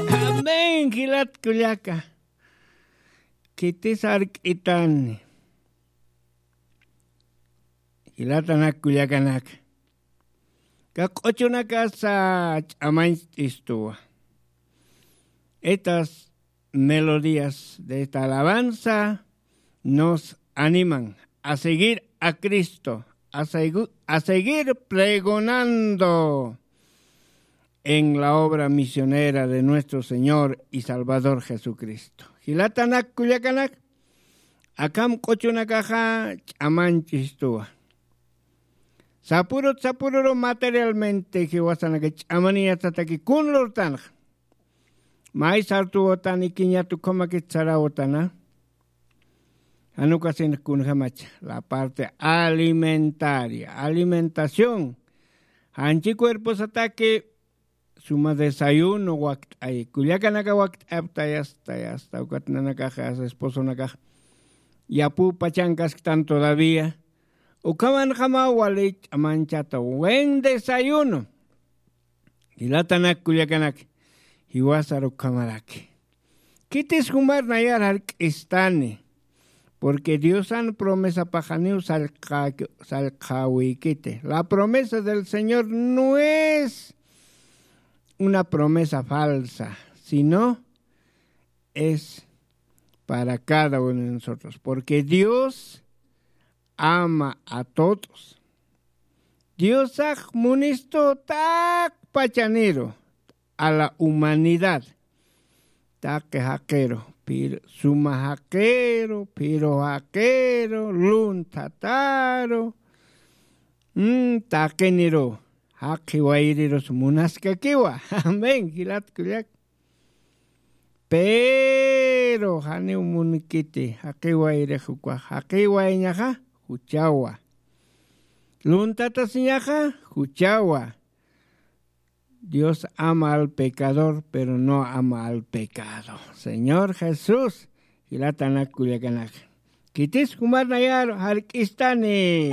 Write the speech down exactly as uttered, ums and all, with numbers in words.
Amén, jilat kullaka. Khitis ark'itani. Jilatanak kullakanaka. Ka q'uchunakasa ch'amañcht'istuwa. Estas melodías de esta alabanza nos animan a seguir a Cristo, a segu-, a seguir pregonando en la obra misionera de nuestro Señor y Salvador Jesucristo. Jilatanak kullakanak, akham q'uchunakaxa ch'amañch'istuwa. Sapurut sapururu materialmente jiwasanaka ch'amaniyatataki kun lurtanxa. May sartuwatani kiñatu khumakit sarawatana. Janukasin kunjamacha. La parte alimentaria, alimentación. Janchi cuerposataki suma desayuno wakt'ay. Kullakanaka wakt'ayapta yasta, yasta. Ukat nanakaxa, esposonakax. Yapu pachankasktan todavía. Ukhamanjama wali ch'amanchata. Buen desayuno. Jilatanak kullakanak, jiwasar ukhamaraki. Khitis jumar nayar jark'istani. Porque Diosan promesapaxaniw sallqa-, sallqäwikiti. La promesa del Señor no es una promesa falsa, sino es para cada uno de nosotros. Porque Dios ama a todos. Diosax munistu taq pachaniru a la humanidad. Taqi jaqiru, pir-, suma jaqiru, piru jaqiru, lunthataru, mm, taqiniru, jaqi wayrirus munaskakiwa. Amén, jilat kullak. Pero janiw munkiti, jaqiwayrix ukax, jaqiwayñaxa juchawa. Luntatasiñaxa juchawa. Dios ama al pecador, pero no ama al pecado. Señor Jesús, jilatanak kullakanak. Khitis jumar nayar jark'istani.